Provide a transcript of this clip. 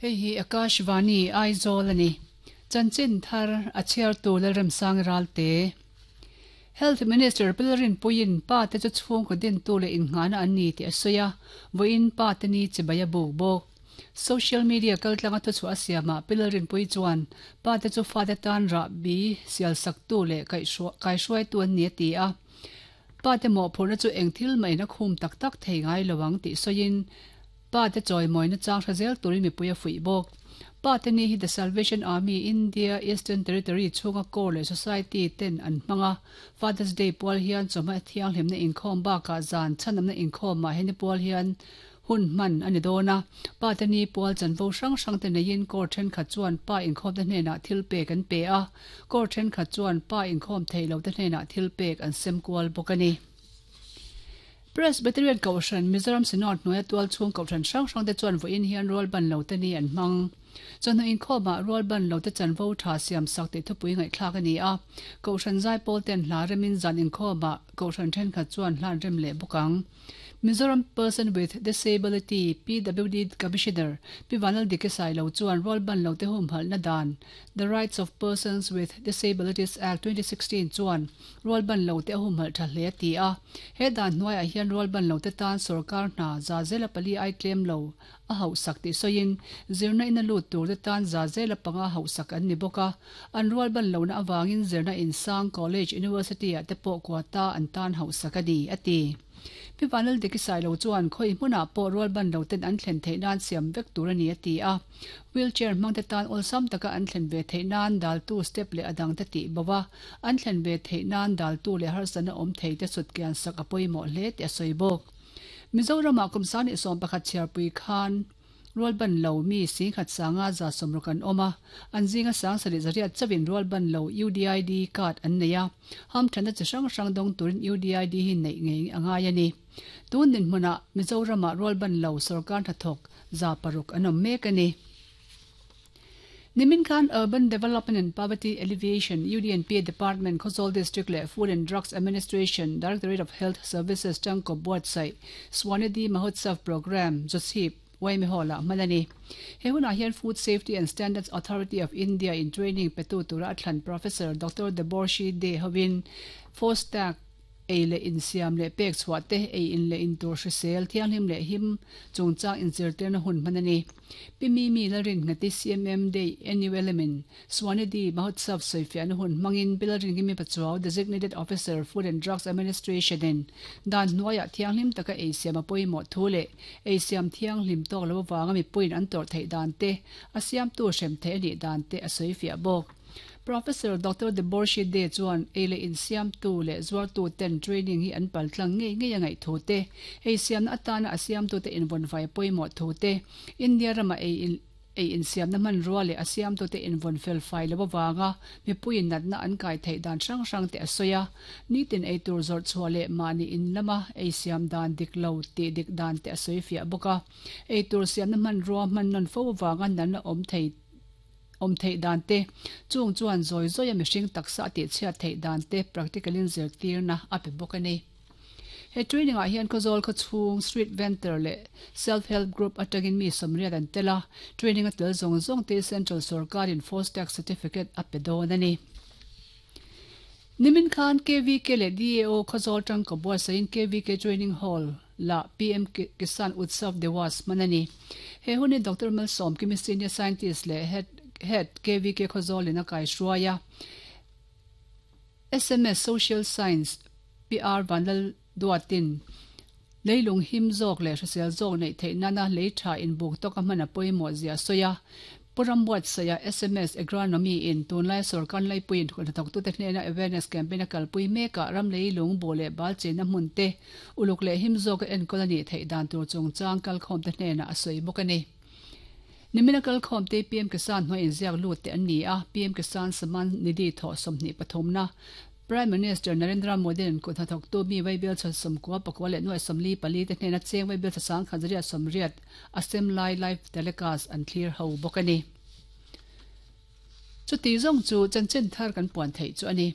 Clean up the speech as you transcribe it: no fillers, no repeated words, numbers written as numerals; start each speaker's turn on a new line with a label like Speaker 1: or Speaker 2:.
Speaker 1: Hei hi Akashvani, Aizawl a ni. Chanchin thar a chhiartu Lalremsang Ralte. Health Minister Pilrinpuiin pa te chu chhungkaw dintu leh innghahna an ni tih a sawi a, vawiin pa te ni chibai a buk bawk. Social media kaltlanga thuchhuah a siamah Pilrinpui chuan pa te chu fate tan rahbi sialsaktu leh kaihruaitu an ni a ti a. Pa te mawhphurhna chu eng thil mahin a khum tak tak thei ngai lo ang tih sawiin pa te chawimawina chang hre zel turin mipui a fuih bawk. Pa te ni hi The Salvation Army India Eastern Territory chhunga Corps leh Society ten an hmang a, Father's Day pual hian chawhma thianghlimna inkhawm bakah zan chhanamna inkhawmah heni pual hian Hun hman a ni dawn a, pa te ni pual chanvo hrang hrang te neiin court thenkhat chuan pa inkhawmte hnenah thil pek an pe a, court thenkhat chuan pa inkhawm thei lo te hnenah thil pek an sem kual bawk a ni. Presbyterian Kohhran, Mizoram Synod hnuaia tualchhung kohhran hrang hrang te chuan vawiin hian rualban lo te ni an hmang. Chawhnu inkhawmah rualban lo te chanvo tha siam sak tih thupui ngaihthlak a ni a, kohhran zaipawl ten hla remin zan inkhawmah kohhran thenkhat chuan hla an rem leh bawk ang. Mizoram Person with Disability, PWD, Commissioner Pi Vanlal Dike Sailo chuan rualban lote humhalhna dan, The Rights of Persons with Disabilities Act 2016 chuan rualban lote a humhalh tha hle a ti a. He dan hnuaiah hian rualban lote tan sorkar hna za zela pali ai tlem lo a hauhsak tih sawiin, zirna ina lut turte tan za zela panga hauhsak an ni bawk a. An rualban lohna avangin zirna insang, college, university ah te pawh quota an tan hauhsak a ni, a ti. Pi Vanlal Diki Sailo chuan khawi hmunah pawh rualban loten an thlen theih nan siam vek tur a ni, a ti a. Wheelchair hmangte tan awlsam taka an thlen ve theih nan daltu step leh a dangte tih bo a, an thlen ve theih nan daltu leh harsatna awm theite sutkian sak a pawimawh hle tih a sawi bawk. Mizoramah kum 21 chhiarpui khan rualban lo mi singkhat sanga 160 an awm a, an zinga 70 zariat chauhin rualban lo UDID card an nei a, hamthanna chi hrang hrang dawng turin UDID hi neih ngei a ngai a ni. Tun dinhmunah Mizoramah rualban lo sorkar hnathawk 600 an awm mek a ni. Nimin khan Urban Development and Poverty Alleviation, UDNPA, Department, Khawzawl District leh Food and Drugs Administration, Directorate of Health Services tangkawp buatsaih Swanidhi Mahotsav Programme, Jawchhip, Waimi Hall-ah hman a ni. He hunah hian Food Safety and Standards Authority of India in training petu tura a thlan Professor Doctor Deborshi De hovin FoSTaC, Ei leh insiam leh pek chhuah te, ei in leh intur hrisel, thianghlim leh him chungchang inzirtirna hun hman a ni. Pi Mimi Lalrinngati CMM Day NULM in Swanidhi Mahotsav sawifiahna hun hmangin Pi Lalrinkimi Pachuau Designated Officer Food and Drugs Administration in dan hnuaiah thianghlim taka ei siam a pawimawh thu leh ei siam thianghlim tawk lo avanga mipuiin an tawrh theih dan te, a siamtu hrem theih a nih dan te a sawifiah bawk. Professor Doctor Deborshi De chuan ei leh insiamtu leh zuartu ten training hi an paltlang ngei ngei a ngaih thu te, ei siamna atana a siamtute invawnfai pawimawh thu te, India rama ei ei insiamna hmanrua leh a siamtute invawn felfai lo avanga mipuiin natna an kai theih dan hrang hrang te a sawi a. Nitin eitur zawrh chhuah leh mahni in lama ei siam dan dik lo tih dik dan te a sawi fiah bawk a. Eitur siamna hmanrua hman nawn fo avanga natna awm thei Awm theih dan te, chung chuan zawi zawia mihring taksa a tihchhiat theih dan te practical in zirtirna a pe bawk a ni. He training ah hian Khawzawl khawchhung Street Vendor leh Self Help Group atangin mi 80 an tel a, training a tel zawng zawng te Central Sorkar in Fostag Certificate a pe dawn a ni. Nimin khan KVK leh DAO Khawzawl tangka buatsaihin KVK Training Hall la PM Kisan Utsav Diwas hman a ni. He hun hi Doctor Malsawm Kimi Senior Scientist leh Head Head KVK Khawzawl in a kaihruai a. Sms Social Science PR Vanlal Duatin leilung him zawk leh hrisel zawk neih theih nana lei tha inbuk tawka hman a pawimawh zia a sawi a. Pu Rambuatsaia sms Agronomy in tunlai sorkar laipuiin hnathawktute hnena awareness campaign a kalpui mekah ram leilung buh leh bal chenna hmun te uluk leh him zawka enkawl a nih theih dan tur chungchang kalkhawmte hnenah a sawi bawk a ni. Nimina kalkhawmte PM Kisan hnuai inziak lut te an ni a, PM Kisan Samman Nidhi thawh 23 na Prime Minister Narendra Modi-a'n kut hnathawktu mi Vaibel chhawn 94 leh nuai 44 te hnena cheng Vaibel chha 1880 a sem lai live telecast an thlir ho bawk a ni. Chuti zawng chu chanchin thar kan puan theih chu a ni.